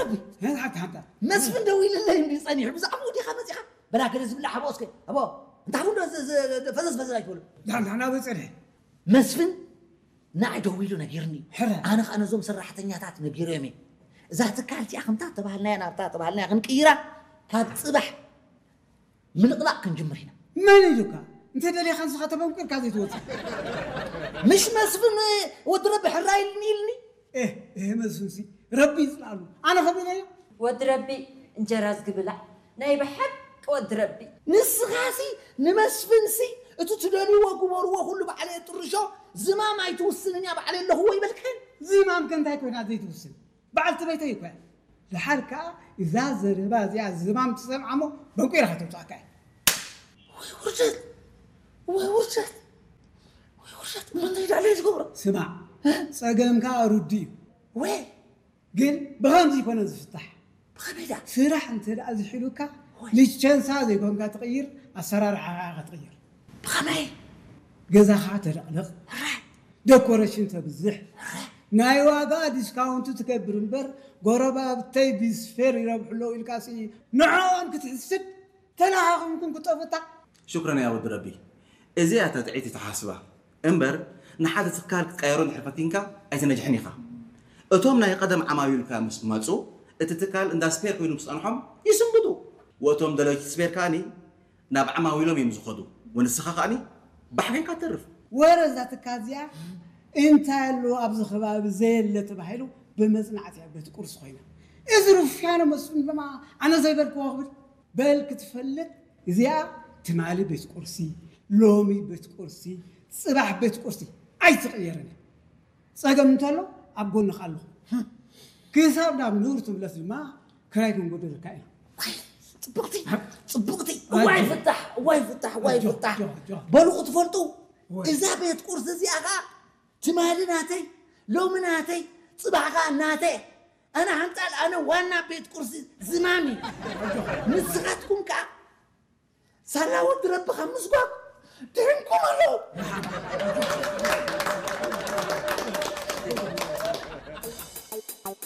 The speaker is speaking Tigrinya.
ረቢ፣ ሄን ሓንቲ ሓንቲ መስፍን ደው ኢልለይ እንዲ ጸኒሑ ብዛዕባኡ ዲኻ መጺኻ? በላ ገለ ዝብላዕ ሃቦ እስከ። ሃቦ፣ እንታይ ቡን ዶ ፈዘዝ ፈዘዝ ኣይትበሉ። ዳሕና ናበይ ጸኒሐ? መስፍን ንዓይ ደው ኢሉ ነጊርኒ እዩ። ሕረ። ኣነ ኸዓ ነዞም ሰራሕተኛታት ነጊሮም እየ። እዛ ትካል እቲኣ ከምታ ተባህልናያ ናብታ ተባህልናያ ክንቅይራ ካብ ጽባሕ ምልቕላቕ ክንጅምር ኢና። መን ኢሉካ? እንተ ደሊኻ ንስኻ ተበንቂርካ ዘይትወፅእ። ምሽ መስፍን ወዲ ረቢ ሕራይ ኢልኒ ኢልኒ። ኤህ፣ ኤህ መስፍንሲ ረቢ ይፅላሉ። ኣነ ከቢለዮ። ወዲ ረቢ እንጀራ ዝግብላዕ ናይ ብሓቂ ወዲ ረቢ። ንስኻሲ ንመስፍንሲ እቲ ትደልይዎ ግበርዎ ኩሉ ባዕለ ጥርሾ ዝማም ኣይትውስንን እያ ባዕለ ኣለኹዎ ይበልክን። ዝማም ከ እንታይ ኮይና ዘይትውስን? በዓልቲ ቤተይ እኮ እያ። ደሓር ከኣ እዛ ዘረባ እዚኣ ዝማም ትሰምዓ እሞ በንቂራ ከተውፅኣካ እያ። ወይ ውርደት፣ ወይ ውርደት፣ ወይ ውርደት። እሞ እንታይ ዳለ ዝገብሮ? ስማዕ፣ ፀገምካ ርዱእ እዩ። ወይ ግን ብኸምዚ ይኮነ ዝፍታሕ። ብኸመይ ዳ? ስራሕ እንተ ደኣ ዝሒሉካ ወይ። ልቸንሳ ዘይኮንካ ትቕይር፣ ኣሰራርሓ ኢኻ ትቕይር። ብኸመይ? ገዛኻ ተለቕልቕ፣ ደኮሬሽን ተብዝሕ፣ ናይ ዋጋ ዲስካውንት ትገብር እምበር ጎረባብተይ ቢስፌር ይረብሑ ኣለዉ ኢልካሲ ንዕኦም ክትሕስድ ተናኻኺምኩም ክጠፍታ። ሽክረን ያ ወዲ ረቢ። እዚኣ እታ ጥዕይቲ ተሓስባ እምበር ንሓደ ትካል ክትቀየሮ እንድሕር ፈቲንካ ኣይትነጅሕን ኢኻ። እቶም ናይ ቀደም ዓማዊልካ ምስ መፁ እቲ ትካል እንዳ ስፔር ኮይኑ ምስ ጸንሖም ይስንብዱ። ወእቶም ደለይቲ ስፔር ከኣኒ ናብ ዓማዊሎም እዮም ዝኸዱ። ወንስኻ ከኣኒ ባሕ ኮይንካ ትተርፍ። ወረ እዛ ትካል እዚኣ እንታይ ኣሎ ኣብዚ ከባቢ ዘየለ ተባሂሉ ብመጽናዕቲ ኣብ ቤት ቁርሲ ኮይና። እዚ ሩፍያኖ መስፍን ድማ ኣነ ዘይበልክዎ ክብል በል ክትፈልጥ እዚኣ ትማሊ ቤት ቁርሲ፣ ሎሚ ቤት ቁርሲ፣ ጽባሕ ቤት ቁርሲ ኣይትቕየርን እያ። ጸገም እንተሎ ኣብ ጎንኻ ኣለኹ። ክሳብ ናብ ንቡር ትምለስ ድማ ክራይ ክንጎደልካ ኢና። ጽብቕቲ፣ ጽብቕቲ። እዋይ ፍታሕ፣ እዋይ ፍታሕ፣ እዋይ ኣጆ፣ ፍታሕ። ኣጆ፣ ኣጆ። በሉ ክትፈልጡ ወይ። እዛ ቤት ቁርሲ እዚኣ ኸኣ ትማሊ ናተይ፣ ሎሚ ናተይ፣ ጽባሕ ኸኣ ናተይ። ኣነ ሓንጻል ኣነ ዋና ቤት ቁርሲ ዝማሚ። ንስኻትኩም ከኣ ሳላ ወዲ ረቢ ካብ ምስጓግ ድሕንኩም ኣለዉ።